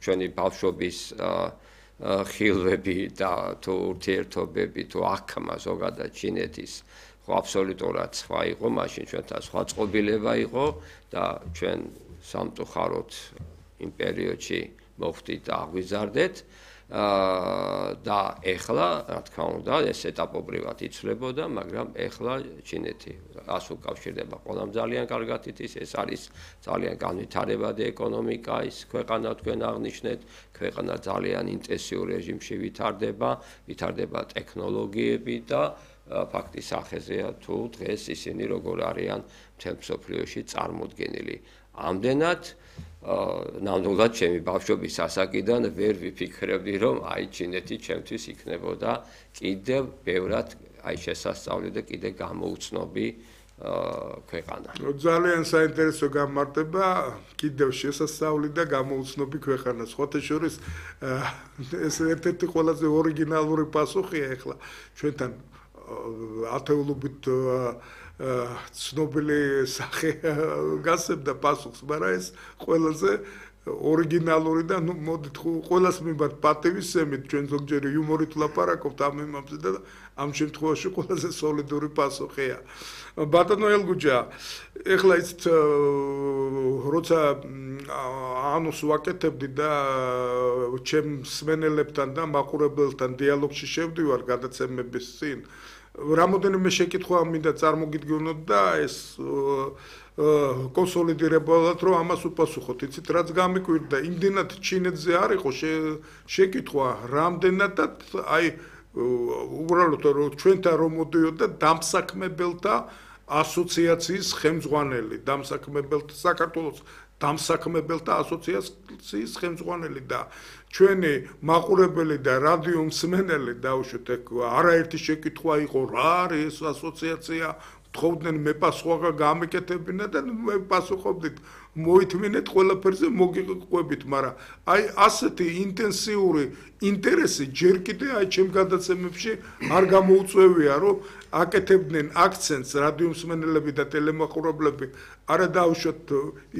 ჩვენი ბავშვობის ხილვები და თუ ურთიერთობები თუ აქმა ზოგადად ჩინეთის ხო აბსოლუტურად სხვა იყო, მაშინ ჩვენთან სხვა წყობილება იყო და ჩვენ სამწუხაროდ იმ პერიოდში მოხვდით და აღვიზარდეთ და ეხლა, რა თქმა უნდა, ეს ეტაპობრივად იცვლებოდა, მაგრამ ეხლა ჩინეთი ას უკავშირდება ყველამ ძალიან კარგად იცის, ეს არის ძალიან განვითარებადი ეკონომიკა, ის ქვეყანა თქვენ აღნიშნეთ, ქვეყანა ძალიან ინტენსიურ რეჟიმში ვითარდება ტექნოლოგიები და ფაქტის სახეზეა თუ დღეს ისინი როგორ არიან მთელ მსოფლიოში წარმოდგენილი. ამდენად ნამდვილად ჩემი ბავშვობის ასაკიდან ვერ ვიფიქრებდი, რომ აი ჩინეთი ჩემთვის იქნებოდა კიდევ ბევრად აი შესასწავლი და კიდევ გამოუცნობი ქვეყანა. ძალიან საინტერესო გამარტება, კიდევ შესასწავლი და გამოუცნობი ქვეყანა. სხვათა შორის ეს ერთ-ერთი ყველაზე ორიგინალური პასუხია ახლა ჩვენთან ათეულობით ცნობილი სახე გასცემდა პასუხს, მაგრამ ეს ყველაზე ორიგინალური და ნუ მოდით ყველას მიმართ პატივისცემით ჩვენ ზოგჯერ იუმორით ვლაპარაკობთ ამ იმებზე და ამ შემთხვევაში ყველაზე სოლიდური პასუხია. ბატონო ელგუჯა, ეხლა იცით როცა ანუს ვაკეთებდი და ჩემ მსმენელებთან და მაყურებელთან დიალოგში შევდივარ გადაცემების წინ რამოდენიმე შეკითხვა მინდა წარმოგიდგენოთ და ეს კონსოლიდირებულად რომ ამას უპასუხოთ. იცით რაც გამიკვირდა, იმდენად ჩინეთზე არ იყო შეკითხვა, რამდენადაც აი უბრალოდ რომ ჩვენთან რომ მოდიოდა დამსაქმებელთა ასოციაციის ხელმძღვანელი, საქართველოს დამსაქმებელთა ასოციაციის ხელმძღვანელი და ჩვენი მაყურებელი და რადიო მსმენელი დაუშვით არაერთი შეკითხვა იყო რა არის ეს ასოციაცია, თხოვდნენ მე პასუხი გამეკეთებინა და მე პასუხობდით მოითმინეთ ყველაფერზე მოგიყვებით, მაგრამ აი ასეთი ინტენსიური ინტერესი ჯერ კიდე აი ჩემ გადაცემებში არ გამოუწვევია, რომ აკეთებდნენ აქცენტს რადიო მსმენელები და ტელემაყურებლები არა დაუშვათ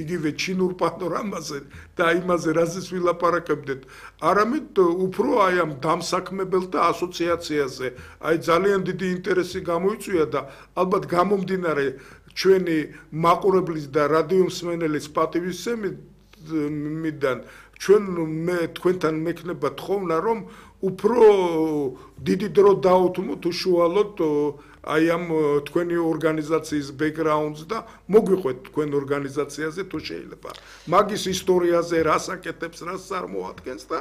იგივე ჩინურ პანორამაზე და იმაზე რაზეც ვილაპარაკებდეთ, არამედ უფრო აი ამ დამსაქმებელთა ასოციაციაზე აი ძალიან დიდი ინტერესი გამოიწვია და ალბათ გამომდინარე ჩვენი მაყურებლის და რადიო მსმენელის პატივისცემიდან ჩვენ თქვენთან მექნება თხოვნა რომ უფრო დიდი დრო დაუთმოთ უშუალოდ აი ამ თქვენი ორგანიზაციის ბექგრაუნდს და მოგვიყვეთ თქვენ ორგანიზაციაზე თუ შეიძლება მაგის ისტორიაზე რას აკეთებს, რას წარმოადგენს და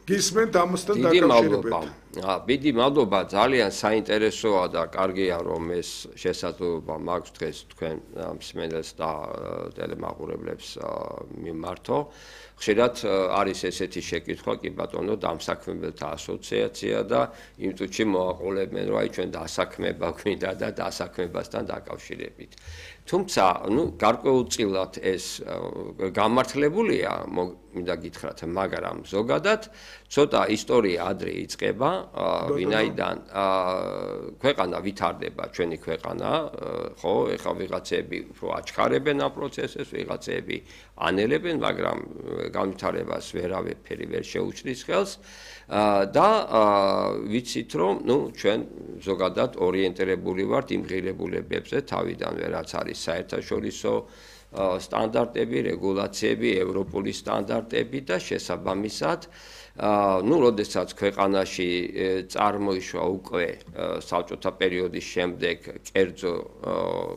გისმენთ ამასთან დაკავშირებით. დიდი მადლობა, ძალიან საინტერესოა და კარგია რომ ეს შესაძლებლობა მაქვს დღეს თქვენ მსმენელს და ტელემაყურებლებს მიმართო. ხშირად არის ესეთი შეკითხვა, კი ბატონო, დამსაქმებელთა ასოციაცია და იმ წუთში მოაყოლებენ, რომ აი ჩვენ დასაქმება გვინდა და დასაქმებასთან დაკავშირებით. თუმცა, გარკვეულწილად ეს გამართლებულია, მინდა გითხრათ, მაგრამ ზოგადად ცოტა ისტორია ადრე იწყება, ვინაიდან ქვეყანა ვითარდება, ჩვენი ქვეყანა, ხო, ეხლა ვიღაცები უფრო აჩქარებენ ამ პროცესებს, ვიღაცები ანელებენ, მაგრამ განვითარებას ვერავითარი ვერ შეუჩნის ხელს და ვიცით რომ ჩვენ ზოგადად ორიენტირებული ვართ იმ ღირებულებებზე თავიდანვე რაც არის საერთაშორისო სტანდარტები, რეგულაციები, ევროპული სტანდარტები და შესაბამისად როდესაც ქვეყანაში წარმოიშვა უკვე საბჭოთა პერიოდის შემდეგ კერძო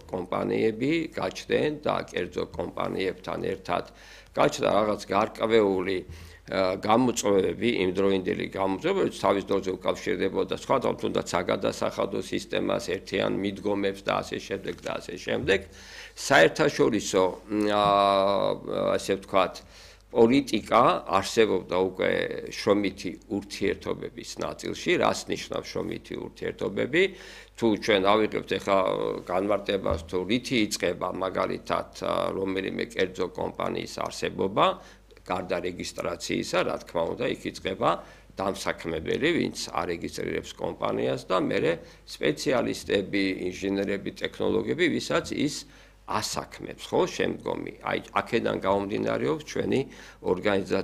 კომპანიები გაჩნდნენ და კერძო კომპანიებთან ერთად გაჩნდა რაღაც გარკვეული გამოწვევები, იმდროინდელი გამოწვევები, თავის დროზე უკავშირდებოდა სხვა თუნდაც საგადასახადო სისტემას, ერთიან მიდგომებს და ასე შემდეგ და ასე შემდეგ. საერთაშორისო ასე ვთქვათ პოლიტიკა არსებობდა უკვე შრომითი ურთიერთობების ნაწილში, რას ნიშნავს შრომითი ურთიერთობები? თუ ჩვენ ავიღებთ ახლა განმარტებას, თუ რითი იწყება მაგალითად რომელიმე კერძო კომპანიის არსებობა, გარდა რეგისტრაციისა, რა თქმა უნდა, იქ იწყება დამსაქმებელი, ვინც არეგისტრირებს კომპანიას და მერე სპეციალისტები, ინჟინერები, ტექნოლოგები, ვისაც ის ასაქმებს, ხო, შემდგომი. აი, აქედან გამომდინარეობს ჩვენი ორგანიზაცია